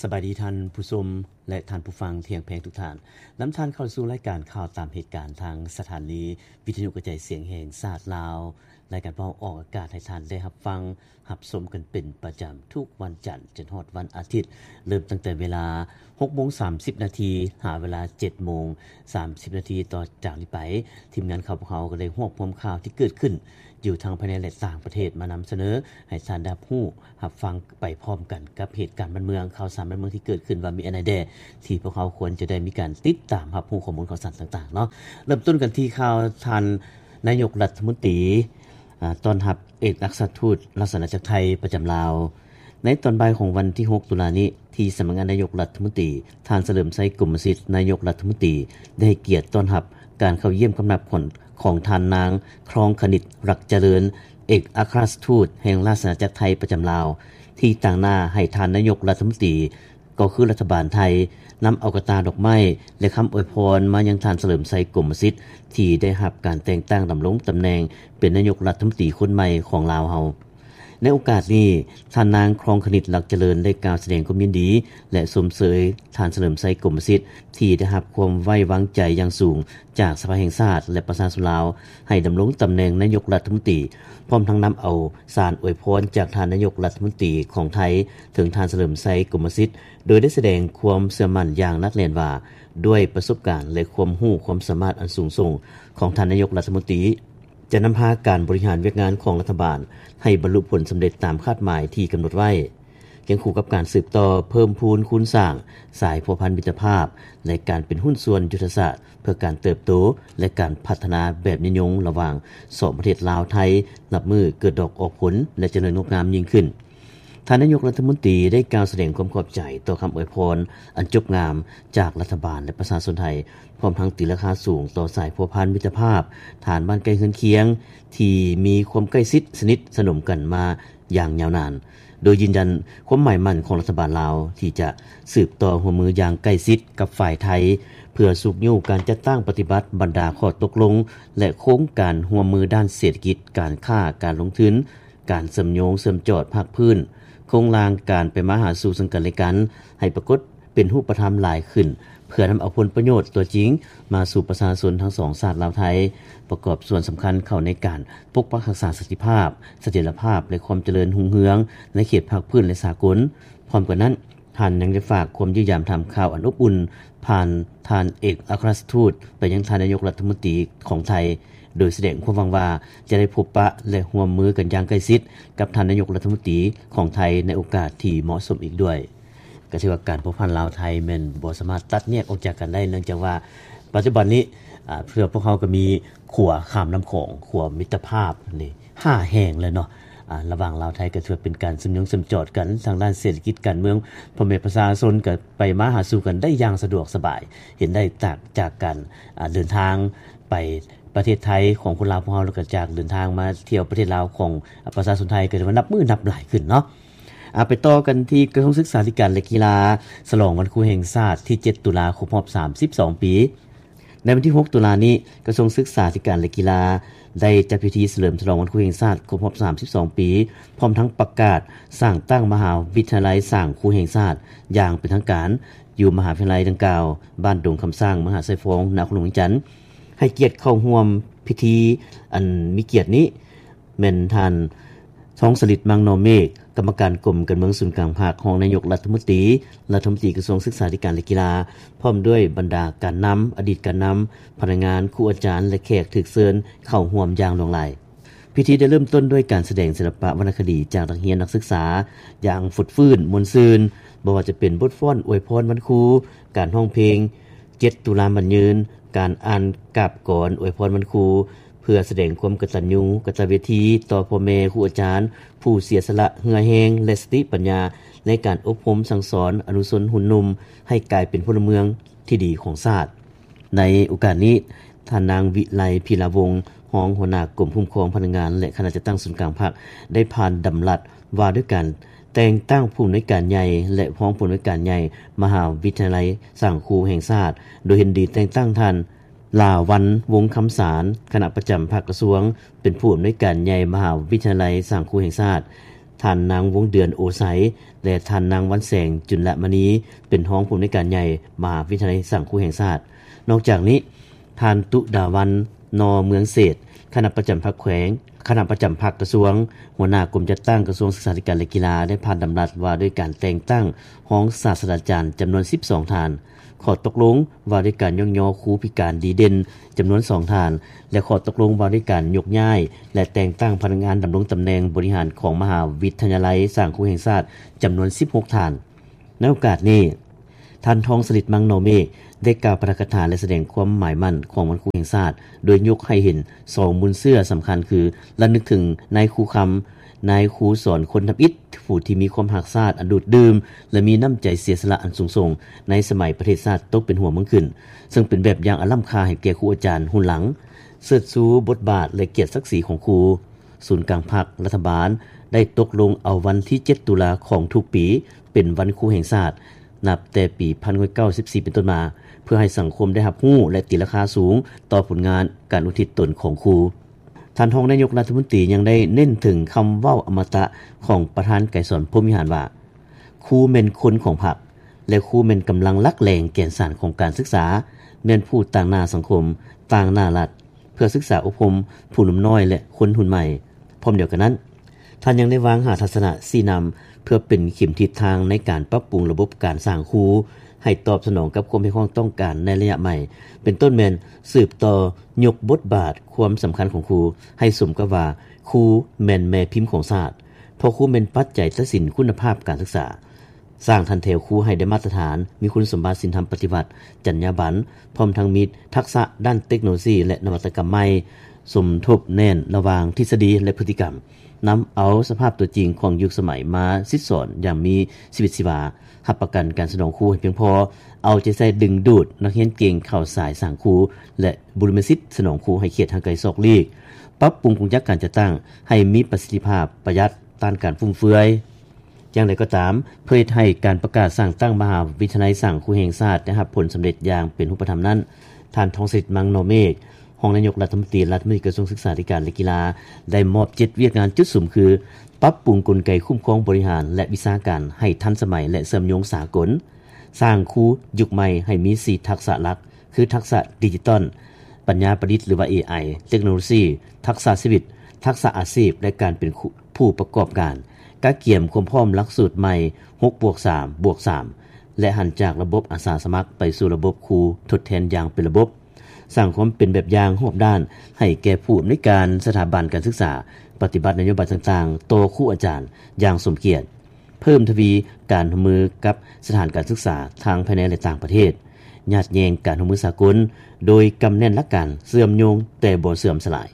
ສະບາຍດີທ່ານຜູ້ຊົມ ແລະ ທ່ານຜູ້ຟັງທີ່ຮັກແພງທຸກທ່ານ. ນຳທ່ານເຂົ້າສູ່ລາຍການຂ່າວຕາມເຫດການ ທາງສະຖານີວິທະຍຸກະຈາຍສຽງແຫ່ງຊາດລາວ. ລາຍການພວກເຮົາອອກອາກາດໃຫ້ທ່ານໄດ້ຮັບຟັງ ຮັບຊົມກັນເປັນປະຈຳທຸກວັນຈັນຈົນຮອດວັນອາທິດ, ເລີ່ມຕັ້ງແຕ່ເວລາຫົກໂມງສາມສິບນາທີ ຫາເວລາເຈັດໂມງສາມສິບນາທີ. ຕໍ່ຈາກນີ້ໄປ, ທີມງານຂອງພວກເຮົາກໍໄດ້ຮວບຮວມຂ່າວທີ່ເກີດຂຶ້ນຢູ່ທັງພາຍໃນ ແລະ ຕ່າງປະເທດ ມານຳສະເໜີໃຫ້ທ່ານໄດ້ຮັບຮູ້ ຮັບຟັງໄປພ້ອມກັນກັບເຫດການບ້ານເມືອງ, ຂ່າວສານບ້ານເມືອງທີ່ເກີດຂຶ້ນ ວ່າມີອັນໃດແດ່ທີ່ພວກເຮົາຄວນຈະໄດ້ມີການຕິດຕາມຮັບຮູ້ຂໍ້ມູນຂ່າວສານຕ່າງໆເນາະ. ເລີ່ມຕົ້ນກັນທີ່ຂ່າວທ່ານນາຍົກລັດຖະມົນຕີ ອາ ຕ້ອນຮັບເອກອັກຄະລັດຖະທູດລາຊະອານາຈັກໄທປະຈຳລາວ. ໃນຕອນບ່າຍຂອງວັນທີຫົກຕຸລານີ້ ທີ່ສຳນັກງານນາຍົກລັດຖະມົນຕີ, ທ່ານ ສະເຫຼີມໄຊ ກົມມະສິດ ນາຍົກລັດຖະມົນຕີ ໄດ້ໃຫ້ກຽດຕ້ອນຮັບການເຂົ້າຢ້ຽມຄຳນັບຂອງ ຂອງທ່ານນາງ ຄອງຄະນິດ ລັກຈະເລີນ ເອກອັກຄະລັດຖະທູດແຫ່ງລາຊະອານາຈັກໄທປະຈຳລາວ ທີ່ຕາງໜ້າໃຫ້ທ່ານນາຍົກລັດຖະມົນຕີ ກໍຄືລັດຖະບານໄທ ນຳເອົາກະຕ່າດອກໄມ້ ແລະ ຄຳອວຍພອນມາຍັງທ່ານ ສະເຫຼີມໄຊ ກົມມະສິດ ທີ່ໄດ້ຮັບການແຕ່ງຕັ້ງດຳລົງຕຳແໜ່ງເປັນນາຍົກລັດຖະມົນຕີຄົນໃໝ່ຂອງລາວເຮົາ. ໃນໂອກາດນີ້, ທ່ານນາງ ຄອງຄະນິດ ລັກຈະເລີນ ໄດ້ກ່າວສະແດງຄວາມຍິນດີ ແລະ ຊົມເຊີຍທ່ານ ສະເຫຼີມໄຊ ກົມມະສິດ ທີ່ໄດ້ຮັບຄວາມໄວ້ວາງໃຈຢ່າງສູງຈາກສະພາແຫ່ງຊາດ ແລະ ປະຊາຊົນລາວ ໃຫ້ດຳລົງຕຳແໜ່ງນາຍົກລັດຖະມົນຕີ, ພ້ອມທັງນຳເອົາສານອວຍພອນຈາກທ່ານນາຍົກລັດຖະມົນຕີຂອງໄທ ເຖິງທ່ານ ສະເຫຼີມໄຊ ກົມມະສິດ ໂດຍໄດ້ສະແດງຄວາມເຊື່ອໝັ້ນຢ່າງໜັກແໜ້ນວ່າ ດ້ວຍປະສົບການ ແລະ ຄວາມຮູ້ຄວາມສາມາດອັນສູງສົ່ງຂອງທ່ານນາຍົກລັດຖະມົນຕີ ຈະນຳພາການບໍລິຫານວຽກງານຂອງລັດຖະບານໃຫ້ບັນລຸຜົນສຳເລັດຕາມຄາດໝາຍທີ່ກຳນົດໄວ້, ຄຽງຄູ່ກັບການສືບຕໍ່ເພີ່ມພູນຄູນສ້າງສາຍພົວພັນມິດຕະພາບ ແລະ ການເປັນຫຸ້ນສ່ວນຍຸດທະສາດ ເພື່ອການເຕີບໂຕ ແລະ ການພັດທະນາແບບຍືນຍົງລະຫວ່າງສອງປະເທດລາວ-ໄທ ນັບມື້ເກີດດອກອອກຜົນ ແລະ ຈະເລີນງົດງາມຍິ່ງຂຶ້ນ. ທ່ານນາຍົກລັດຖະມົນຕີໄດ້ກ່າວສະແດງຄວາມຂອບໃຈຕໍ່ຄຳອວຍພອນອັນຈົບງາມຈາກລັດຖະບານ ແລະ ປະຊາຊົນໄທ, ພ້ອມທັງຕີລາຄາສູງຕໍ່ສາຍພົວພັນມິດຕະພາບ ທ່ານບ້ານໃກ້ເຮືອນຄຽງ ທີ່ມີຄວາມໃກ້ຊິດສະໜິດສະໜົມກັນມາຢ່າງຍາວນານ, ໂດຍຢືນຢັນຄວາມໝາຍໝັ້ນຂອງລັດຖະບານລາວ ທີ່ຈະສືບຕໍ່ຮ່ວມມືຢ່າງໃກ້ຊິດກັບຝ່າຍໄທ ເພື່ອຊຸກຍູ້ການຈັດຕັ້ງປະຕິບັດບັນດາຂໍ້ຕົກລົງ ແລະ ໂຄງການຮ່ວມມືດ້ານເສດຖະກິດ, ການຄ້າ, ການລົງທຶນ, ການເຊື່ອມໂຍງເຊື່ອມຈອດພາກພື້ນ, ໂຄງລ່າງການໄປມາຫາສູ່ເຊິ່ງກັນແລະກັນ ໃຫ້ປາກົດເປັນຮູບປະທຳຫຼາຍຂຶ້ນ, ເພື່ອນຳເອົາຜົນປະໂຫຍດຕົວຈິງມາສູ່ປະຊາຊົນທັງສອງຊາດລາວ-ໄທ, ປະກອບສ່ວນສຳຄັນເຂົ້າໃນການປົກປັກຮັກສາສັນຕິພາບ, ສະຖຽນລະພາບ ແລະ ຄວາມຈະເລີນຮຸ່ງເຮືອງໃນເຂດພາກພື້ນ ແລະ ສາກົນ. ພ້ອມກັນນັ້ນ, ທ່ານຍັງໄດ້ຝາກຄວາມຢ້ຽມຢາມຖາມຂ່າວອັນອົບອຸ່ນ ຜ່ານທ່ານເອກອັກຄະລັດຖະທູດໄປຍັງທ່ານນາຍົກລັດຖະມົນຕີຂອງໄທ, ໂດຍສະແດງຄວາມຫວັງວ່າຈະໄດ້ພົບປະ ແລະ ຮ່ວມມືກັນຢ່າງໃກ້ຊິດກັບທ່ານນາຍົກລັດຖະມົນຕີຂອງໄທໃນໂອກາດທີ່ເໝາະສົມອີກດ້ວຍ. ກໍຖືວ່າການພົວພັນລາວ-ໄທແມ່ນບໍ່ສາມາດຕັດແຍກອອກຈາກກັນໄດ້, ເນື່ອງຈາກວ່າປັດຈຸບັນນີ້ ອາ ເພື່ອພວກເຮົາກໍມີຂົວຂ້າມນ້ຳຂອງ, ຂົວມິດຕະພາບນີ້ ຫ້າແຫ່ງແລ້ວເນາະ ອາ ລະຫວ່າງລາວ-ໄທ ກໍຖືວ່າເປັນການເຊື່ອມໂຍງເຊື່ອມຈອດກັນທາງດ້ານເສດຖະກິດການເມືອງ, ພໍ່ແມ່ປະຊາຊົນກໍໄປມາຫາສູ່ກັນໄດ້ຢ່າງສະດວກສະບາຍ, ເຫັນໄດ້ຈາກ ຈາກການ ອາ ເດີນທາງໄປປະເທດໄທຂອງຄົນລາວພວກເຮົາ ແລ້ວກໍຈາກເດີນທາງມາທ່ຽວປະເທດລາວຂອງ ອາ ປະຊາຊົນໄທ ກໍຖືວ່ານັບມື້ນັບຫຼາຍຂຶ້ນເນາະ. ອາ ໄປຕໍ່ກັນທີ່ກະຊວງສຶກສາທິການ ແລະ ກິລາ ສະຫຼອງວັນຄູແຫ່ງຊາດທີເຈັດຕຸລາ ຄົບຮອບສາມສິບສອງປີ. ໃນວັນທີຫົກຕຸລານີ້, ກະຊວງສຶກສາທິການ ແລະ ກິລາ ໄດ້ຈັດພິທີສະເຫຼີມສະຫຼອງວັນຄູແຫ່ງຊາດຄົບຮອບສາມສິບສອງປີ, ພ້ອມທັງປະກາດສ້າງຕັ້ງມະຫາວິທະຍາໄລສ້າງຄູແຫ່ງຊາດຢ່າງເປັນທາງການ ຢູ່ມະຫາວິທະຍາໄລດັ່ງກ່າວ, ບ້ານດົງຄຳຊ້າງ, ມະຫາໄຊຟອງ, ນະຄອນຫຼວງວຽງຈັນ. ໃຫ້ກຽດເຂົ້າຮ່ວມພິທີອັນມີກຽດນີ້ ແມ່ນທ່ານ ທອງສະລິດ ມັງນໍເມກ, ກຳມະການກົມການເມືອງສູນກາງພັກ, ຮອງນາຍົກລັດຖະມົນຕີ, ລັດຖະມົນຕີກະຊວງສຶກສາທິການ ແລະ ກິລາ, ພ້ອມດ້ວຍບັນດາການນຳ, ອະດີດການນຳ, ພະນັກງານ, ຄູອາຈານ ແລະ ແຂກຖືກເຊີນເຂົ້າຮ່ວມຢ່າງຫຼວງຫຼາຍ. ພິທີໄດ້ເລີ່ມຕົ້ນດ້ວຍການສະແດງສິລະປະວັນນະຄະດີຈາກນັກຮຽນນັກສຶກສາຢ່າງຟົດຟື້ນມ່ວນຊື່ນ, ບໍ່ວ່າຈະເປັນບົດຟ້ອນອວຍພອນວັນຄູ, ການຮ້ອງເພງ ເຈັດຕຸລາໝັ້ນຍືນ, ການອ່ານກາບກອນອວຍພອນວັນຄູ ເພື່ອສະແດງຄວາມກະຕັນຍູກະຕະເວທີຕໍ່ພໍ່ແມ່ຄູອາຈານ ຜູ້ເສຍສະຫຼະເຫື່ອແຮງ ແລະ ສະຕິປັນຍາໃນການອົບຮົມສັ່ງສອນອະນຸຊົນຮຸ່ນໜຸ່ມໃຫ້ກາຍເປັນພົນລະເມືອງທີ່ດີຂອງຊາດ. ໃນໂອກາດນີ້, ທ່ານນາງ ວິໄລ ພີລາວົງ, ຮອງຫົວໜ້າກົມຄຸ້ມຄອງພະນັກງານ ແລະ ຄະນະຈັດຕັ້ງສູນກາງພັກ ໄດ້ຜ່ານດຳລັດວ່າດ້ວຍການແຕ່ງຕັ້ງຜູ້ອຳນວຍການໃຫຍ່ ແລະ ຮອງຜູ້ອຳນວຍການໃຫຍ່ມະຫາວິທະຍາໄລສ້າງຄູແຫ່ງຊາດ, ໂດຍເຫັນດີແຕ່ງຕັ້ງທ່ານ ຫຼາວັນ ວົງຄຳສານ, ຄະນະປະຈຳພັກກະຊວງ, ເປັນຜູ້ອຳນວຍການໃຫຍ່ມະຫາວິທະຍາໄລສ້າງຄູແຫ່ງຊາດ, ທ່ານນາງ ວົງເດືອນ ໂອໄຊ ແລະ ທ່ານນາງ ວັນແສງ ຈຸນລະມະນີ ເປັນຮອງຜູ້ອຳນວຍການໃຫຍ່ ມະຫາວິທະຍາໄລສ້າງຄູແຫ່ງຊາດ. ນອກຈາກນີ້, ທ່ານ ຕຸດາວັນ ໜໍ່ເມືອງເສດ ຄະນະປະຈຳພັກແຂວງ, ຄະນະປະຈຳພັກກະຊວງ, ຫົວໜ້າກົມຈັດຕັ້ງກະຊວງສຶກສາທິການ ແລະ ກິລາ ແລະ ຜ່ານດຳລັດວ່າດ້ວຍການແຕ່ງຕັ້ງຮອງສາດສະດາຈານຈຳນວນສິບສອງທ່ານ, ຂໍ້ຕົກລົງວ່າດ້ວຍການຍ້ອງຍໍຄູພິການດີເດັ່ນຈຳນວນສອງທ່ານ ແລະ ຂໍ້ຕົກລົງວ່າດ້ວຍການຍົກຍ້າຍ ແລະ ແຕ່ງຕັ້ງພະນັກງານດຳລົງຕຳແໜ່ງບໍລິຫານຂອງມະຫາວິທະຍາໄລສ້າງຄູແຫ່ງຊາດຈຳນວນສິບຫົກທ່ານ. ໃນໂອກາດນີ້, ທ່ານ ທອງສະລິດ ມັງນໍເມກ ໄດ້ກ່າວປາຖະກະຖາ ແລະ ສະແດງຄວາມໝາຍໝັ້ນຂອງວັນຄູແຫ່ງຊາດ, ໂດຍຍົກໃຫ້ເຫັນສອງມູນເຊື້ອສຳຄັນຄື ລະນຶກເຖິງນາຍຄູຄຳ, ນາຍຄູສອນຄົນທຳອິດ ຜູ້ທີ່ມີຄວາມຮັກຊາດອັນດູດດື່ມ ແລະ ມີນ້ຳໃຈເສຍສະຫຼະອັນສູງສົ່ງໃນສະໄໝປະເທດຊາດຕົກເປັນຫົວເມືອງຂຶ້ນ, ເຊິ່ງເປັນແບບຢ່າງອັນລ້ຳຄ່າໃຫ້ແກ່ຄູອາຈານຮຸ່ນຫຼັງ, ເຊີດຊູບົດບາດ ແລະ ກຽດສັກສີຂອງຄູ. ສູນກາງພັກ, ລັດຖະບານໄດ້ຕົກລົງເອົາວັນທີເຈັດຕຸລາຂອງທຸກປີ ເປັນວັນຄູແຫ່ງຊາດ ນັບແຕ່ປີໜຶ່ງພັນເກົ້າຮ້ອຍເກົ້າສິບສີ່ເປັນຕົ້ນມາ, ເພື່ອໃຫ້ສັງຄົມໄດ້ຮັບຮູ້ ແລະ ຕີລາຄາສູງຕໍ່ຜົນງານການອຸທິດຕົນຂອງຄູ. ທ່ານຮອງນາຍົກລັດຖະມົນຕີຍັງໄດ້ເນັ້ນເຖິງຄຳເວົ້າອະມະຕະຂອງປະທານໄກສອນ ພົມວິຫານ ວ່າ, ຄູແມ່ນຄົນຂອງພັກ ແລະ ຄູແມ່ນກຳລັງຫຼັກແຫຼ່ງແກ່ນສານຂອງການສຶກສາ, ແມ່ນຜູ້ຕາງໜ້າສັງຄົມ, ຕາງໜ້າລັດ ເພື່ອສຶກສາອົບຮົມຜູ້ໜຸ່ມນ້ອຍ ແລະ ຄົນຮຸ່ນໃໝ່. ພ້ອມດຽວກັນນັ້ນ, ທ່ານຍັງໄດ້ວາງຫ້າທັດສະນະຊີ້ນຳ ເພື່ອເປັນເຂັມທິດທາງໃນການປັບປຸງລະບົບການສ້າງຄູ ໃຫ້ຕອບສະໜອງກັບຄວາມຮຽກຮ້ອງຕ້ອງການໃນໄລຍະໃໝ່, ເປັນຕົ້ນແມ່ນສືບຕໍ່ຍົກບົດບາດຄວາມສຳຄັນຂອງຄູ ໃຫ້ສົມກັບວ່າຄູແມ່ນແມ່ພິມຂອງຊາດ, ເພາະຄູແມ່ນປັດໄຈຕັດສິນຄຸນນະພາບການສຶກສາ. ສ້າງຖັນແຖວຄູໃຫ້ໄດ້ມາດຕະຖານ, ມີຄຸນສົມບັດສິນທຳປະຕິວັດ, ຈັນຍາບັນ, ພ້ອມທັງມີທັກສະດ້ານເຕັກໂນໂລຊີ ແລະ ນະວັດຕະກຳໃໝ່, ສົມທົບແໜ້ນລະຫວ່າງທິດສະດີ ແລະ ພຶດຕິກຳ, ນຳເອົາສະພາບຕົວຈິງຂອງຍຸກສະໄໝມາສິດສອນຢ່າງມີຊີວິດຊີວາ, ຮັບປະກັນການສະໜອງຄູໃຫ້ພຽງພໍ, ເອົາໃຈໃສ່ດຶງດູດນັກຮຽນເກັ່ງເຂົ້າສາຍສ້າງຄູ ແລະ ບຸລິມະສິດສະໜອງຄູໃຫ້ເຂດຫ່າງໄກສອກຫຼີກ, ປັບປຸງກົງຈັກການຈັດຕັ້ງໃຫ້ມີປະສິດທິພາບ, ປະຢັດ, ຕ້ານການຟຸມເຟືອຍ. ຢ່າງໃດກໍຕາມ, ເພື່ອເຮັດໃຫ້ການປະກາດສ້າງຕັ້ງມະຫາວິທະຍາໄລສ້າງຄູແຫ່ງຊາດໄດ້ຮັບຜົນສຳເລັດຢ່າງເປັນຮູບປະທຳນັ້ນ, ທ່ານ ທອງສິດ ມັງນໍເມກ ຮອງນາຍົກລັດຖະມົນຕີ ລັດຖະມົນຕີກະຊວງສຶກສາທິການ ແລະ ກິລາ ໄດ້ມອບເຈັດວຽກງານຈຸດສຸມຄື ປັບປຸງກົນໄກຄຸ້ມຄອງບໍລິຫານ ແລະ ວິຊາການໃຫ້ທັນສະໄໝ ແລະ ເຊື່ອມໂຍງສາກົນ, ສ້າງຄູຍຸກໃໝ່ໃຫ້ມີສີ່ທັກສະຫຼັກ ຄື ທັກສະດິຈິຕອນ, ປັນຍາປະດິດ ຫຼືວ່າ ເອໄອ, ເຕັກໂນໂລຊີ, ທັກສະຊີວິດ, ທັກສະອາຊີບ ແລະ ການເປັນຜູ້ປະກອບການ, ກະກຽມຄວາມພ້ອມຫຼັກສູດໃໝ່ ຫົກບວກສາມບວກສາມ ແລະ ຫັນຈາກລະບົບອາສາສະໝັກໄປສູ່ລະບົບຄູທົດແທນຢ່າງເປັນລະບົບ, ສ້າງຄວາມເປັນແບບຢ່າງຮອບດ້ານໃຫ້ແກ່ຜູ້ອຳນວຍການສະຖາບັນການສຶກສາ, ປະຕິບັດນະໂຍບາຍຕ່າງໆຕໍ່ຄູອາຈານຢ່າງສົມກຽດ. ເພີ່ມທະວີການຮ່ວມມືກັບສະຖານການສຶກສາທັງພາຍໃນ ແລະ ຕ່າງປະເທດ, ຍາດແຍ່ງການຮ່ວມມືສາກົນ ໂດຍກຳແໜ້ນຫຼັກການເຊື່ອມໂຍງແຕ່ບໍ່ເສື່ອມສະຫຼາຍ.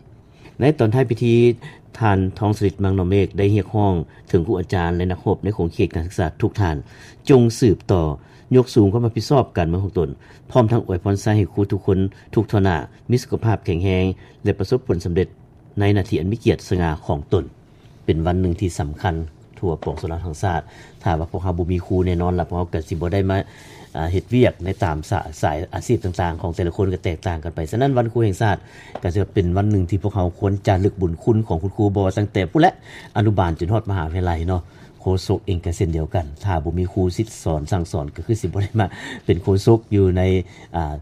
ໃນຕອນທ້າຍພິທີ, ທ່ານ ທອງສະລິດ ມັງນໍເມກ ໄດ້ຮຽກຮ້ອງເຖິງຄູອາຈານ ແລະ ນັກຮົບໃນຂົງເຂດການສຶກສາທຸກທ່ານ, ຈົ່ງສືບຕໍ່ຍົກສູງຄວາມຮັບຜິດຊອບການເມືອງຂອງຕົນ, ພ້ອມທັງອວຍພອນໄຊໃຫ້ຄູທຸກຄົນ, ທຸກທົ່ວໜ້າ, ມີສຸຂະພາບແຂງແຮງ ແລະ ປະສົບຜົນສຳເລັດໃນໜ້າທີ່ອັນມີກຽດສະຫງ່າຂອງຕົນ. ເປັນວັນໜຶ່ງທີ່ສຳຄັນທົ່ວປວງຊົນລາວທັງຊາດ. ຖ້າວ່າພວກເຮົາບໍ່ມີຄູ, ແນ່ນອນລະ ພວກເຮົາກໍຊິບໍ່ໄດ້ມາ ອາ ເຮັດວຽກໃນຕາມສາ ສາຍອາຊີບຕ່າງໆຂອງແຕ່ລະຄົນກໍແຕກຕ່າງກັນໄປ. ສະນັ້ນ ວັນຄູແຫ່ງຊາດກໍຖືວ່າເປັນວັນໜຶ່ງທີ່ພວກເຮົາຄວນຈາລຶກບຸນຄຸນຂອງຄຸນຄູ, ບໍ່ວ່າຕັ້ງແຕ່ພຸ້ນແຫຼະ ອະນຸບານຈົນຮອດມະຫາວິທະຍາໄລເນາະ. ໂຄສົກເອງກໍເຊັ່ນດຽວກັນ, ຖ້າບໍ່ມີຄູສິດສອນສັ່ງສອນ ກໍຄືຊິບໍ່ໄດ້ມາເປັນໂຄສົກຢູ່ໃນ ອາ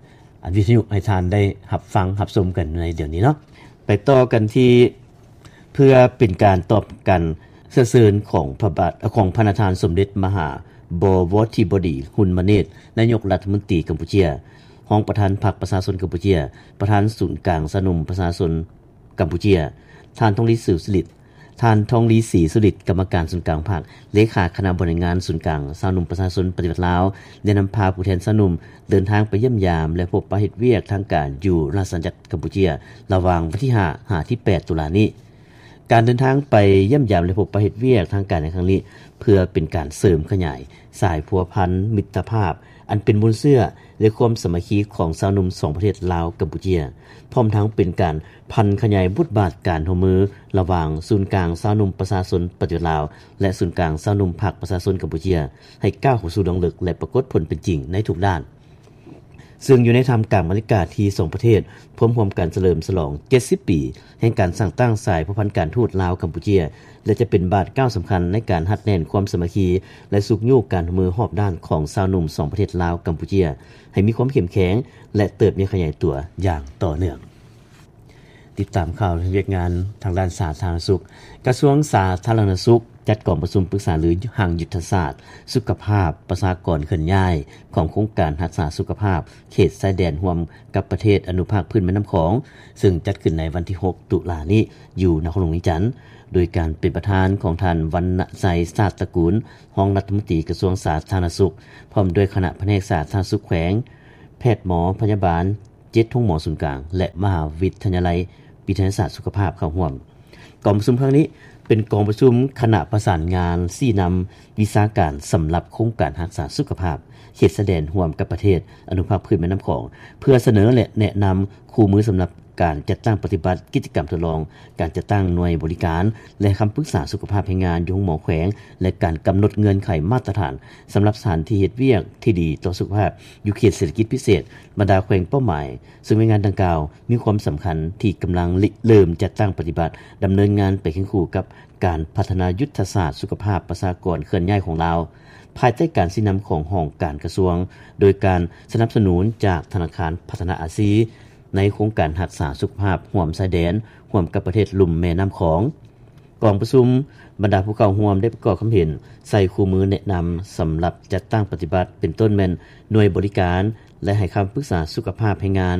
ອັນວິທະຍຸໃຫ້ທ່ານໄດ້ຮັບຟັງຮັບຊົມກັນໃນດຽວນີ້ເນາະ. ໄປຕໍ່ກັນທີ່ ເພື່ອເປັນການຕອບການເຊື້ອເຊີນຂອງພະບາດ ຂອງພະນະທ່ານສົມເດັດມະຫາ ບໍວໍທິບໍດີ ຮຸນມະເນດ ນາຍົກລັດຖະມົນຕີກຳປູເຈຍ, ຮອງປະທານພັກປະຊາຊົນກຳປູເຈຍ, ປະທານສູນກາງຊາວໜຸ່ມປະຊາຊົນກຳປູເຈຍ, ທ່ານ ທອງລີ ສຸລິດ, ທ່ານ ທອງລີ ສີສຸລິດ ກຳມະການສູນກາງພັກ, ເລຂາຄະນະບໍລິຫານງານສູນກາງຊາວໜຸ່ມປະຊາຊົນປະຕິວັດລາວ ໄດ້ນຳພາຜູ້ແທນຊາວໜຸ່ມເດີນທາງໄປຢ້ຽມຢາມ ແລະ ພົບປະເຮັດວຽກທາງການຢູ່ລາຊະອານາຈັກກຳປູເຈຍ ລະຫວ່າງວັນທີຫ້າ ຫາ ທີແປດ ຕຸລານີ້. ການເດີນທາງໄປຢ້ຽມຢາມ ແລະ ພົບປະເຮັດວຽກທາງການໃນຄັ້ງນີ້ ເພື່ອເປັນການເສີມຂະຫຍາຍສາຍພົວພັນມິດຕະພາບ ອັນເປັນມູນເຊື້ອ ແລະ ຄວາມສາມັກຄີຂອງຊາວໜຸ່ມສອງປະເທດລາວ-ກຳປູເຈຍ, ພ້ອມທັງເປັນການຜັນຂະຫຍາຍບົດບາດການຮ່ວມມືລະຫວ່າງສູນກາງຊາວໜຸ່ມປະຊາຊົນປະຕິວັດລາວ ແລະ ສູນກາງຊາວໜຸ່ມພັກປະຊາຊົນກຳປູເຈຍ ໃຫ້ກ້າວເຂົ້າສູ່ລວງເລິກ ແລະ ປາກົດຜົນເປັນຈິງໃນທຸກດ້ານ. ເຊິ່ງຢູ່ໃນທ່າມກາງບັນຍາກາດທີ່ສອງປະເທດພວມຮ່ວມກັນສະເຫຼີມສະຫຼອງເຈັດສິບປີ ແຫ່ງການສ້າງຕັ້ງສາຍພົວພັນການທູດລາວ-ກຳປູເຈຍ ແລະ ຈະເປັນບາດກ້າວສຳຄັນໃນການຮັດແໜ້ນຄວາມສາມັກຄີ ແລະ ຊຸກຍູ້ການຮ່ວມມືຮອບດ້ານຂອງຊາວໜຸ່ມສອງປະເທດລາວ-ກຳປູເຈຍ ໃຫ້ມີຄວາມເຂັ້ມແຂງ ແລະ ເຕີບໃຫຍ່ຂະຫຍາຍຕົວຢ່າງຕໍ່ເນື່ອງ. ຕິດຕາມຂ່າວວຽກງານທາງດ້ານສາທາລະນະສຸກ. ກະຊວງສາທາລະນະສຸກ ຈັດກອງປະຊຸມປຶກສາລືຮ່າງຍຸດທະສາດສຸຂະພາບປະຊາກອນເຄື່ອນຍ້າຍ ຂອງໂຄງການຮັກສາສຸຂະພາບເຂດຊາຍແດນຮ່ວມກັບປະເທດອະນຸພາກພື້ນແມ່ນ້ຳຂອງ, ເຊິ່ງຈັດຂຶ້ນໃນວັນທີຫົກ ຕຸລານີ້ ຢູ່ນະຄອນຫຼວງວຽງຈັນ, ໂດຍການເປັນປະທານຂອງທ່ານ ວັນນະໄຊ ຊາດຕະກູນ, ຮອງລັດຖະມົນຕີກະຊວງສາທາລະນະສຸກ, ພ້ອມດ້ວຍຄະນະພະແນກສາທາລະນະສຸກແຂວງ, ແພດໝໍພະຍາບານ, ເຈັດໂຮງໝໍສູນກາງ ແລະ ມະຫາວິທະຍາໄລວິທະຍາສາດສຸຂະພາບເຂົ້າຮ່ວມ. ກອງປະຊຸມຄັ້ງນີ້ເປັນກອງປະຊຸມຄະນະປະສານງານຊີ້ນຳວິຊາການສຳລັບໂຄງການຮັກສາສຸຂະພາບເຂດຊາຍແດນຮ່ວມກັບປະເທດອະນຸພາກພື້ນແມ່ນ້ຳຂອງ ເພື່ອສະເໜີ ແລະ ແນະນຳຄູ່ມືສຳລັບການຈັດຕັ້ງປະຕິບັດກິດຈະກຳທົດລອງ, ການຈັດຕັ້ງໜ່ວຍບໍລິການ ແລະ ຄຳປຶກສາສຸຂະພາບແຮງງານຢູ່ໂຮງໝໍແຂວງ ແລະ ການກຳນົດເງື່ອນໄຂມາດຕະຖານສຳລັບສະຖານທີ່ເຮັດວຽກທີ່ດີຕໍ່ສຸຂະພາບຢູ່ເຂດເສດຖະກິດພິເສດບັນດາແຂວງເປົ້າໝາຍ. ເຊິ່ງແຜນງານດັ່ງກ່າວມີຄວາມສຳຄັນທີ່ກຳລັງລິເລີ່ມຈັດຕັ້ງປະຕິບັດ, ດຳເນີນງານໄປຄຽງຄູ່ກັບການພັດທະນາຍຸດທະສາດສຸຂະພາບປະຊາກອນເຄື່ອນຍ້າຍຂອງລາວ, ພາຍໃຕ້ການຊີ້ນຳຂອງຫ້ອງການກະຊວງ, ໂດຍການສະໜັບສະໜູນຈາກທະນາຄານພັດທະນາອາຊີ ໃນໂຄງການຮັກສາສຸຂະພາບຮ່ວມຊາຍແດນ ຮ່ວມກັບປະເທດລຸ່ມແມ່ນ້ຳຂອງ. ກອງປະຊຸມ, ບັນດາຜູ້ເຂົ້າຮ່ວມໄດ້ປະກອບຄຳເຫັນໃສ່ຄູ່ມືແນະນຳສຳລັບຈັດຕັ້ງປະຕິບັດ ເປັນຕົ້ນແມ່ນໜ່ວຍບໍລິການ ແລະ ໃຫ້ຄຳປຶກສາສຸຂະພາບແຮງງານ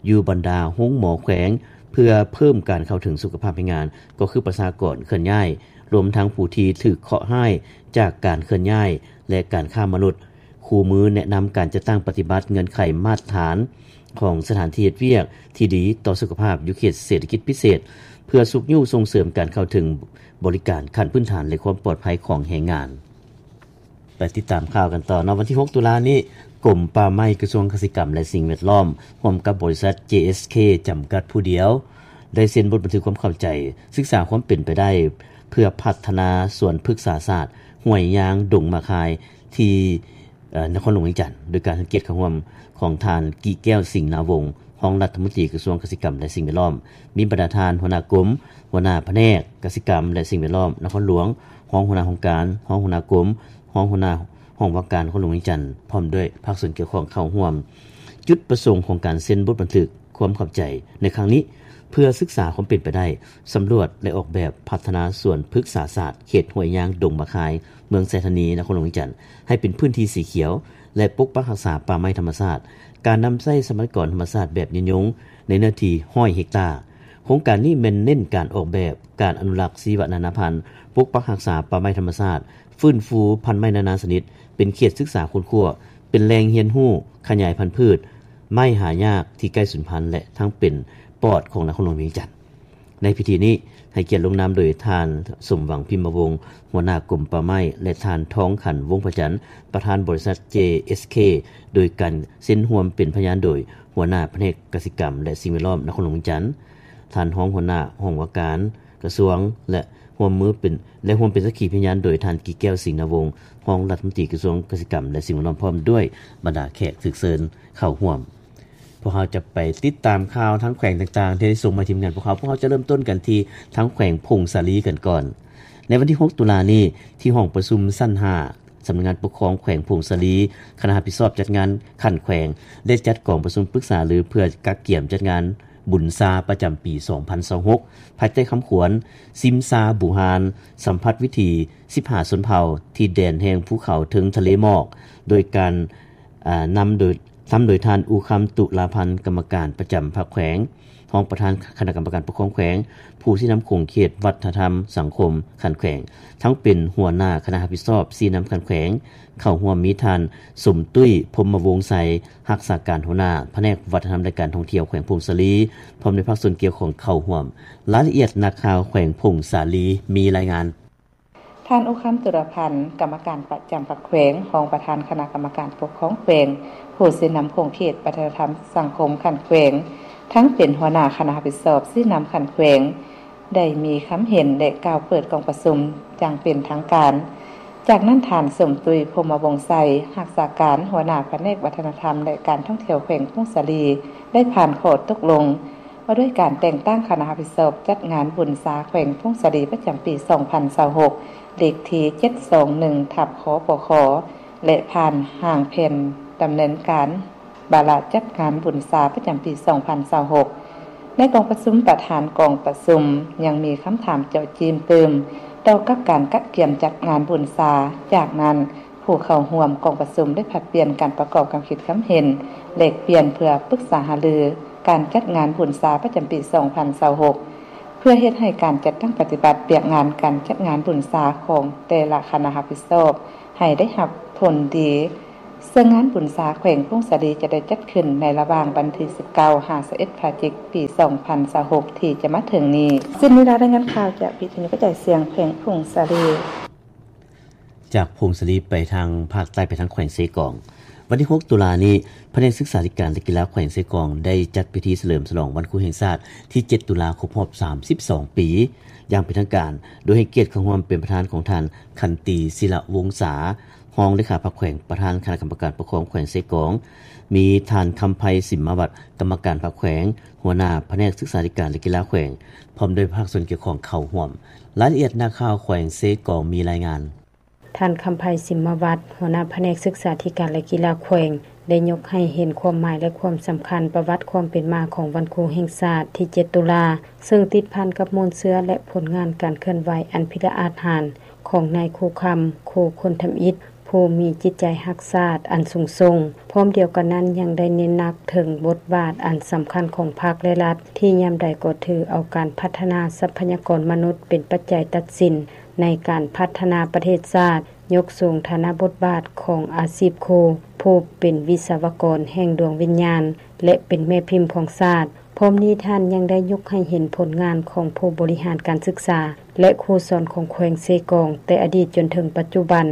ຢູ່ບັນດາໂຮງໝໍແຂວງ ເພື່ອເພີ່ມການເຂົ້າເຖິງສຸຂະພາບແຮງງານ ກໍຄືປະຊາກອນເຄື່ອນຍ້າຍ, ລວມທັງຜູ້ທີ່ຖືກເຄາະຮ້າຍຈາກການເຄື່ອນຍ້າຍ ແລະ ການຄ້າມະນຸດ. ຄູ່ມືແນະນຳການຈັດຕັ້ງປະຕິບັດເງື່ອນໄຂມາດຕະຖານຂອງສະຖານທີ່ເຮັດວຽກທີ່ດີຕໍ່ສຸຂະພາບຢູ່ເຂດເສດຖະກິດພິເສດ ເພື່ອຊຸກຍູ້ສົ່ງເສີມການເຂົ້າເຖິງບໍລິການຂັ້ນພື້ນຖານ ແລະ ຄວາມປອດໄພຂອງແຮງງານ. ໄປຕິດຕາມຂ່າວກັນຕໍ່ເນາະ. ວັນທີຫົກ ຕຸລານີ້, ກົມປ່າໄມ້, ກະຊວງກະສິກຳ ແລະ ສິ່ງແວດລ້ອມ ຮ່ວມກັບບໍລິສັດ ເຈ ເອສ ເຄ ຈຳກັດຜູ້ດຽວ ໄດ້ເຊັນບົດບັນທຶກຄວາມເຂົ້າໃຈ, ສຶກສາຄວາມເປັນໄປໄດ້ ເພື່ອພັດທະນາສວນພຶກສາສາດ ຫ້ວຍຍາງ ດົງໝາກຄາຍ ທີ່ ເອີ ນະຄອນຫຼວງວຽງຈັນ, ໂດຍການໃຫ້ກຽດເຂົ້າຮ່ວມຂອງທ່ານ ກິແກ້ວ ສິງນາວົງ, ຮອງລັດຖະມົນຕີກະຊວງກະສິກຳ ແລະ ສິ່ງແວດລ້ອມ, ມີບັນດາທ່ານຫົວໜ້າກົມ, ຫົວໜ້າພະແນກກະສິກຳ ແລະ ສິ່ງແວດລ້ອມນະຄອນຫຼວງ, ຮອງຫົວໜ້າຫ້ອງການ, ຮອງຫົວໜ້າກົມ, ຮອງຫົວໜ້າຫ້ອງວ່າການນະຄອນຫຼວງວຽງຈັນ, ພ້ອມດ້ວຍພາກສ່ວນກ່ຽວຂ້ອງເຂົ້າຮ່ວມ. ຈຸດປະສົງຂອງການເຊັນບົດບັນທຶກຄວາມເຂົ້າໃຈໃນຄັ້ງນີ້ ເພື່ອສຶກສາຄວາມເປັນໄປໄດ້, ສຳຫຼວດ ແລະ ອອກແບບພັດທະນາສວນພຶກສາສາດເຂດຫ້ວຍຍາງ ດົງໝາກຄາຍ ເມືອງໄຊທານີ ນະຄອນຫຼວງວຽງຈັນ ໃຫ້ເປັນພື້ນທີ່ສີຂຽວ ແລະ ປົກປັກຮັກສາປ່າໄມ້ທຳມະຊາດ. ການນຳໃຊ້ຊັບພະຍາກອນທຳມະຊາດແບບຍືນຍົງໃນເນື້ອທີ່ຮ້ອຍເຮັກຕາ. ໂຄງການນີ້ແມ່ນເນັ້ນການອອກແບບ, ການອະນຸລັກຊີວະນານາພັນ, ປົກປັກຮັກສາປ່າໄມ້ທຳມະຊາດ, ຟື້ນຟູພັນໄມ້ນານາຊະນິດ, ເປັນເຂດສຶກສາຄົ້ນຄວ້າ, ເປັນແຫຼ່ງຮຽນຮູ້, ຂະຫຍາຍພັນພືດ, ໄມ້ຫາຍາກທີ່ໃກ້ສູນພັນ ແລະ ທັງເປັນປອດຂອງນະຄອນຫຼວງວຽງຈັນ. ໃນພິທີນີ້ ໃຫ້ກຽດລົງນາມໂດຍທ່ານ ສົມຫວັງ ພິມມະວົງ ຫົວໜ້າກົມປ່າໄມ້ ແລະ ທ່ານ ທອງຂັນ ວົງພະຈັນ ປະທານບໍລິສັດ ເຈ ເອສ ເຄ ໂດຍການເຊັນຮ່ວມເປັນພະຍານໂດຍຫົວໜ້າພະແນກກະສິກຳ ແລະ ສິ່ງແວດລ້ອມນະຄອນຫຼວງວຽງຈັນ, ທ່ານຮອງຫົວໜ້າຫ້ອງວ່າການກະຊວງ ແລະ ຮ່ວມມືເປັນ ແລະ ຮ່ວມເປັນສັກຂີພະຍານໂດຍທ່ານ ກິແກ້ວ ສິງນາວົງ ຮອງລັດຖະມົນຕີກະຊວງກະສິກຳ ແລະ ສິ່ງແວດລ້ອມ ພ້ອມດ້ວຍບັນດາແຂກຖືກເຊີນເຂົ້າຮ່ວມ. ພວກເຮົາຈະໄປຕິດຕາມຂ່າວທາງແຂວງຕ່າງໆ ທີ່ໄດ້ສົ່ງມາທີມງານພວກເຮົາ. ພວກເຮົາຈະເລີ່ມຕົ້ນກັນທີ່ທາງແຂວງຜົ້ງສາລີກັນກ່ອນ. ໃນວັນທີຫົກ ຕຸລານີ້, ທີ່ຫ້ອງປະຊຸມຊັ້ນຫ້າ ສຳນັກງານປົກຄອງແຂວງຜົ້ງສາລີ, ຄະນະຮັບຜິດຊອບຈັດງານຂັ້ນແຂວງ ໄດ້ຈັດກອງປະຊຸມປຶກສາລືເພື່ອກະກຽມຈັດງານບຸນຊາປະຈຳປີສອງພັນຊາວຫົກ ພາຍໃຕ້ຄຳຂວັນ ຊິມຊາບູຮານ ສຳຜັດວິຖີສິບຫ້າຊົນເຜົ່າທີ່ແດນແຫ່ງພູເຂົາເທິງທະເລໝອກ ໂດຍການ ອາ ນຳໂດຍ ນຳໂດຍທ່ານ ອູຄຳ ຕຸລາພັນ ກຳມະການປະຈຳພັກແຂວງ, ຮອງປະທານຄະນະກຳມະການປົກຄອງແຂວງ, ຜູ້ຊີ້ນຳຂົງເຂດວັດທະນະທຳສັງຄົມຂັ້ນແຂວງ, ທັງເປັນຫົວໜ້າຄະນະຮັບຜິດຊອບຊີ້ນຳຂັ້ນແຂວງ. ເຂົ້າຮ່ວມມີທ່ານ ສົມຕຸ້ຍ ພົມມະວົງໄຊ ຮັກສາການຫົວໜ້າພະແນກວັດທະນະທຳ ແລະ ການທ່ອງທ່ຽວແຂວງຜົ້ງສາລີ ພ້ອມດ້ວຍພາກສ່ວນກ່ຽວຂ້ອງເຂົ້າຮ່ວມ. ລາຍລະອຽດ ນັກຂ່າວແຂວງຜົ້ງສາລີມີລາຍງານ. ທ່ານ ອຸຄຳ ຕຸລາພັນ ກຳມະການປະຈຳພັກແຂວງ, ຮອງປະທານຄະນະກຳມະການປົກຄອງແຂວງ, ຜູ້ຊີ້ນຳຂົງເຂດວັດທະນະທຳສັງຄົມຂັ້ນແຂວງ, ທັງເປັນຫົວໜ້າຄະນະຮັບຜິດຊອບຊີ້ນຳຂັ້ນແຂວງ ໄດ້ມີຄຳເຫັນ ແລະ ກ່າວເປີດກອງປະຊຸມຢ່າງເປັນທາງການ. ຈາກນັ້ນ ທ່ານ ສົມຕຸ້ຍ ພົມມະວົງໄຊ ຮັກສາການຫົວໜ້າພະແນກວັດທະນະທຳ ແລະ ການທ່ອງທ່ຽວແຂວງຜົ້ງສາລີ ໄດ້ຜ່ານຂໍ້ຕົກລົງວ່າດ້ວຍການແຕ່ງຕັ້ງຄະນະຮັບຜິດຊອບຈັດງານບຸນຊາແຂວງຜົ້ງສາລີປະຈຳປີສອງພັນຊາວຫົກ ເລກທີເຈັດສອງໜຶ່ງ ທັບ ຄປຄ ແລະ ຜ່ານຮ່າງແຜນດຳເນີນການ ວາລະຈັດງານບຸນຊາປະຈຳປີສອງພັນຊາວຫົກ. ໃນກອງປະຊຸມ, ປະທານກອງປະຊຸມຍັງມີຄຳຖາມເຈາະຈີ້ມຕື່ມ ກ່ຽວກັບການກະກຽມຈັດງານບຸນຊາ. ຈາກນັ້ນ, ຜູ້ເຂົ້າຮ່ວມກອງປະຊຸມໄດ້ຜັດປ່ຽນການປະກອບຄຳຄິດຄຳເຫັນ, ແລກປ່ຽນເພື່ອປຶກສາຫາລືການຈັດງານບຸນຊາປະຈຳປີສອງພັນຊາວຫົກ ເພື່ອເຮັດໃຫ້ການຈັດຕັ້ງປະຕິບັດວຽກງານການຈັດງານບຸນຊາຂອງແຕ່ລະຄະນະຮັບຜິດຊອບ ໃຫ້ໄດ້ຮັບຜົນດີ. ເຊິ່ງງານບຸນຊາແຂວງຜົ້ງສາລີຈະໄດ້ຈັດຂຶ້ນໃນລະຫວ່າງວັນທີສິບເກົ້າ ຫາ ຊາວເອັດ ພະຈິກ ປີສອງພັນຊາວຫົກ ທີ່ຈະມາເຖິງນີ້. ສິ້ນນິລາ ລາຍງານຂ່າວຈາກວິທະຍຸກະຈາຍສຽງແຂວງຜົ້ງສາລີ. ຈາກຜົ້ງສາລີໄປທາງພາກໃຕ້ ໄປທາງແຂວງເຊກອງ. ວັນທີຫົກ ຕຸລານີ້, ພະແນກສຶກສາທິການ ແລະ ກິລາແຂວງເຊກອງ ໄດ້ຈັດພິທີສະເຫຼີມສະຫຼອງວັນຄູແຫ່ງຊາດທີເຈັດ ຕຸລາ ຄົບຮອບສາມສິບສອງປີ ຢ່າງເປັນທາງການ, ໂດຍໃຫ້ກຽດເຂົ້າຮ່ວມເປັນປະທານຂອງທ່ານ ຂັນຕີ ສິລະວົງສາ ຮອງເລຂາພັກແຂວງ, ປະທານຄະນະກຳມະການປົກຄອງແຂວງເຊກອງ, ມີທ່ານ ຄຳໄພ ສິມມະວັດ ກຳມະການພັກແຂວງ, ຫົວໜ້າພະແນກສຶກສາທິການ ແລະ ກິລາແຂວງ, ພ້ອມດ້ວຍພາກສ່ວນກ່ຽວຂ້ອງເຂົ້າຮ່ວມ. ລາຍລະອຽດນັກຂ່າວແຂວງເຊກອງມີລາຍງານ. ທ່ານ ຄຳໄພ ສິມມະວັດ ຫົວໜ້າພະແນກສຶກສາທິການ ແລະ ກິລາແຂວງ ໄດ້ຍົກໃຫ້ເຫັນຄວາມໝາຍ ແລະ ຄວາມສຳຄັນປະຫວັດຄວາມເປັນມາຂອງວັນຄູແຫ່ງຊາດທີເຈັດ ຕຸລາ, ເຊິ່ງຕິດພັນກັບມູນເຊື້ອ ແລະ ຜົນງານການເຄື່ອນໄຫວອັນພິລະອາດຫານຂອງນາຍຄູຄຳ ຄູຄົນທຳອິດ ຜູ້ມີຈິດໃຈຮັກຊາດອັນສູງສົ່ງ. ພ້ອມດຽວກັນນັ້ນ ຍັງໄດ້ເນັ້ນໜັກເຖິງບົດບາດອັນສຳຄັນຂອງພັກ ແລະ ລັດ ທີ່ຍາມໃດກໍຖືເອົາການພັດທະນາຊັບພະຍາກອນມະນຸດເປັນປັດໄຈຕັດສິນ ໃນການພັດທະນາປະເທດຊາດ, ຍົກສູງຖານະບົດບາດຂອງອາຊີບຄູ, ຜູ້ເປັນວິສະວະກອນແຫ່ງດວງວິນຍານ ແລະ ເປັນແມ່ພິມຂອງຊາດ. ພ້ອມນີ້ທ່ານຍັງໄດ້ຍົກໃຫ້ເຫັນຜົນງານຂອງຜູ້ບໍລິຫານການສຶກສາ ແລະ ຄູສອນຂອງແຂວງເຊກອງ ແຕ່ອະດີດຈົນເຖິງປັດຈຸບັນ.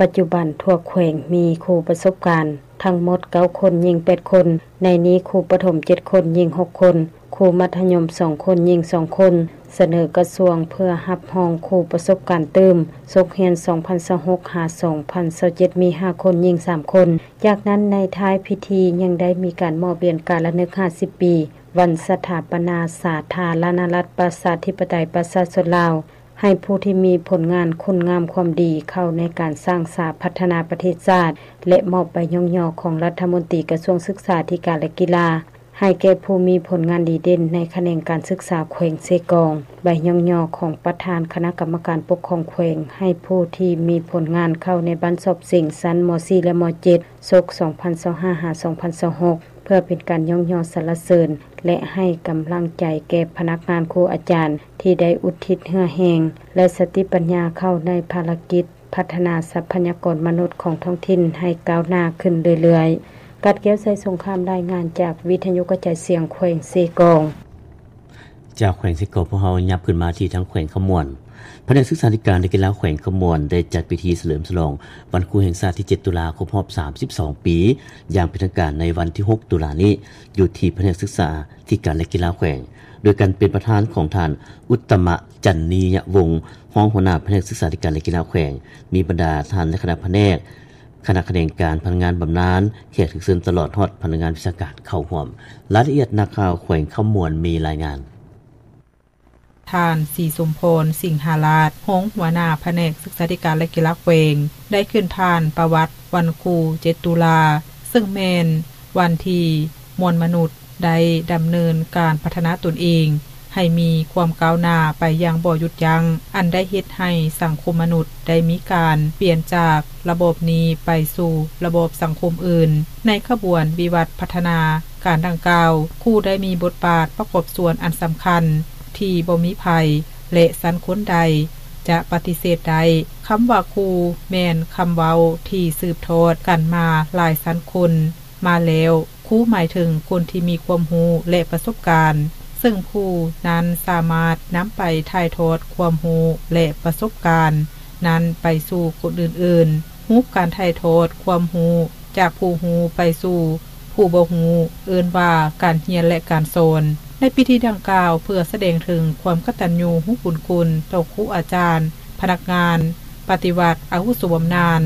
ປັດຈຸບັນທົ່ວແຂວງມີຄູປະສົບການທັງໝົດເກົ້າຄົນ, ຍິງແປດຄົນ, ໃນນີ້ຄູປະຖົມເຈັດຄົນ, ຍິງຫົກຄົນ, ຄູມັດທະຍົມສອງຄົນ, ຍິງສອງຄົນ, ສະເໜີກະຊວງເພື່ອຮັບຮອງຄູປະສົບການຕື່ມສົກຮຽນສອງພັນຊາວຫົກ ຫາ ສອງພັນຊາວເຈັດ ມີຫ້າຄົນ, ຍິງສາມຄົນ. ຈາກນັ້ນໃນທ້າຍພິທີຍັງໄດ້ມີການມອບຫຼຽນການລະນຶກຫ້າສິບປີ ວັນສະຖາປະນາສາທາລະນະລັດ ປະຊາທິປະໄຕ ປະຊາຊົນລາວ ໃຫ້ຜູ້ທີ່ມີຜົນງານຄຸນງາມຄວາມດີເຂົ້າໃນການສ້າງສາພັດທະນາປະເທດຊາດ ແລະ ມອບໃບຍ້ອງຍໍຂອງລັດຖະມົນຕີກະຊວງສຶກສາທິການ ແລະ ກິລາ ໃຫ້ແກ່ຜູ້ມີຜົນງານດີເດັ່ນໃນຂະແໜງການສຶກສາແຂວງເຊກອງ, ໃບຍ້ອງຍໍຂອງປະທານຄະນະກຳມະການປົກຄອງແຂວງ ໃຫ້ຜູ້ທີ່ມີຜົນງານເຂົ້າໃນບັນສອບເສັງຊັ້ນ ມໍສີ່ ແລະ ມໍເຈັດ ສົກສອງພັນຊາວຫ້າ ຫາ ສອງພັນຊາວຫົກ ເພື່ອເປັນການຍ້ອງຍໍສັນລະເສີນ ແລະ ໃຫ້ກຳລັງໃຈແກ່ພະນັກງານ, ຄູອາຈານ ທີ່ໄດ້ອຸທິດເຫື່ອແຮງ ແລະ ສະຕິປັນຍາເຂົ້າໃນພາລະກິດພັດທະນາຊັບພະຍາກອນມະນຸດຂອງທ້ອງຖິ່ນໃຫ້ກ້າວໜ້າຂຶ້ນເລື້ອຍໆ. ກາດແກ້ວ ໄຊສົງຄາມ ລາຍງານຈາກວິທະຍຸກະຈາຍສຽງແຂວງເຊກອງ. ຈາກແຂວງເຊກອງ ພວກເຮົາຫຍັບຂຶ້ນມາທີ່ທາງແຂວງຄຳມ່ວນ. ພະແນກສຶກສາທິການ ແລະ ກິລາແຂວງຄຳມ່ວນ ໄດ້ຈັດພິທີສະເຫຼີມສະຫຼອງວັນຄູແຫ່ງຊາດທີເຈັດ ຕຸລາ ຄົບຮອບສາມສິບສອງປີ ຢ່າງເປັນທາງການໃນວັນທີຫົກ ຕຸລານີ້ ຢູ່ທີ່ພະແນກສຶກສາທິການ ແລະ ກິລາແຂວງ ໂດຍການເປັນປະທານຂອງທ່ານ ອຸດຕະມະ ຈັນນີຍະວົງ ຮອງຫົວໜ້າພະແນກສຶກສາທິການ ແລະ ກິລາແຂວງ, ມີບັນດາທ່ານ ແລະ ຄະນະພະແນກ, ຄະນະຂະແໜງການ, ພະນັກງານບຳນານ, ແຂກຖືກເຊີນ ຕະຫຼອດຮອດພະນັກງານວິຊາການເຂົ້າຮ່ວມ. ລາຍລະອຽດ ນັກຂ່າວແຂວງຄຳມ່ວນມີລາຍງານ. ທ່ານ ສີສົມພອນ ສິງຫາລາດ ຮອງຫົວໜ້າພະແນກສຶກສາທິການ ແລະ ກິລາແຂວງ ໄດ້ຂຶ້ນຜ່ານປະຫວັດວັນຄູເຈັດ ຕຸລາ ເຊິ່ງແມ່ນວັນທີ່ມວນມະນຸດ ໄດ້ດຳເນີນການພັດທະນາຕົນເອງໃຫ້ມີຄວາມກ້າວໜ້າໄປຢ່າງບໍ່ຢຸດຢັ້ງ, ອັນໄດ້ເຮັດໃຫ້ສັງຄົມມະນຸດໄດ້ມີການປ່ຽນຈາກລະບອບນີ້ໄປສູ່ລະບອບສັງຄົມອື່ນ. ໃນຂະບວນວິວັດພັດທະນາການດັ່ງກ່າວ, ຄູໄດ້ມີບົດບາດປະກອບສ່ວນອັນສຳຄັນທີ່ບໍ່ມີໃຜ ແລະ ຊັ້ນຄົນໃດຈະປະຕິເສດໄດ້. ຄຳວ່າຄູແມ່ນຄຳເວົ້າທີ່ສືບທອດກັນມາຫຼາຍຊັ້ນຄົນມາແລ້ວ. ຄູໝາຍເຖິງຄົນທີ່ມີຄວາມຮູ້ ແລະ ປະສົບການ, ເຊິ່ງຄູນັ້ນສາມາດນຳໄປຖ່າຍທອດຄວາມຮູ້ ແລະ ປະສົບການນັ້ນໄປສູ່ຄົນອື່ນໆ. ຮູບການຖ່າຍທອດຄວາມຮູ້ຈາກຜູ້ຮູ້ໄປສູ່ຜູ້ບໍ່ຮູ້ ເອີ້ນວ່າການຮຽນ ແລະ ການສອນ. ໃນພິທີດັ່ງກ່າວ ເພື່ອສະແດງເຖິງຄວາມກະຕັນຍູຮູ້ບຸນຄຸນຕໍ່ຄູອາຈານ, ພະນັກງານ, ປະຕິວັດອາວຸໂສບຳນານ.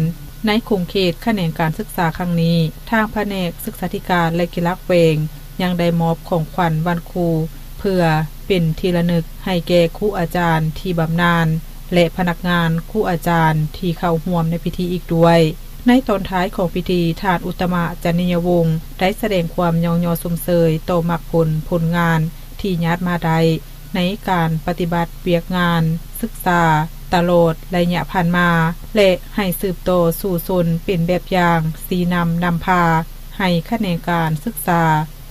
ໃນຂົງເຂດຂະແໜງການສຶກສາຄັ້ງນີ້, ທາງພະແນກສຶກສາທິການ ແລະ ກິລາແຂວງ ຍັງໄດ້ມອບຂອງຂວັນວັນຄູ ເພື່ອເປັນທີ່ລະນຶກໃຫ້ແກ່ຄູອາຈານທີ່ບຳນານ ແລະ ພະນັກງານຄູອາຈານທີ່ເຂົ້າຮ່ວມໃນພິທີອີກດ້ວຍ. ໃນຕອນທ້າຍຂອງພິທີ, ທ່ານ ອຸດຕະມະ ຈັນນີຍະວົງ ໄດ້ສະແດງຄວາມຍ້ອງຍໍຊົມເຊີຍຕໍ່ໝາກຜົນຜົນງານທີ່ຍາດມາໄດ້ ໃນການປະຕິບັດວຽກງານສຶກສາຕະຫຼອດໄລຍະຜ່ານມາ ແລະ ໃຫ້ສືບຕໍ່ສູ່ຊົນເປັນແບບຢ່າງຊີ້ນຳນຳພາ ໃຫ້ຂະແໜງການສຶກສາ,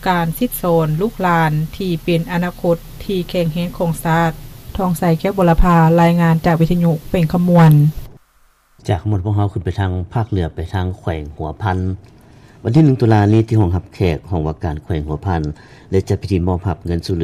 ການສິດສອນລູກຫຼານທີ່ເປັນອະນາຄົດທີ່ແຂງແຮງຂອງຊາດ. ທອງໃສ ແກ້ວບົວລະພາ ລາຍງານຈາກວິທະຍຸແຂວງຄຳມ່ວນ. ຈາກຄຳມ່ວນ ພວກເຮົາຂຶ້ນໄປທາງພາກເໜືອ ໄປທາງແຂວງຫົວພັນ. ວັນທີໜຶ່ງ ຕຸລານີ້ ທີ່ຫ້ອງຮັບແຂກ ຫ້ອງວ່າການແຂວງຫົວພັນ ໄດ້ຈັດພິທີມອບຮັບເງິນຊ່ວຍເ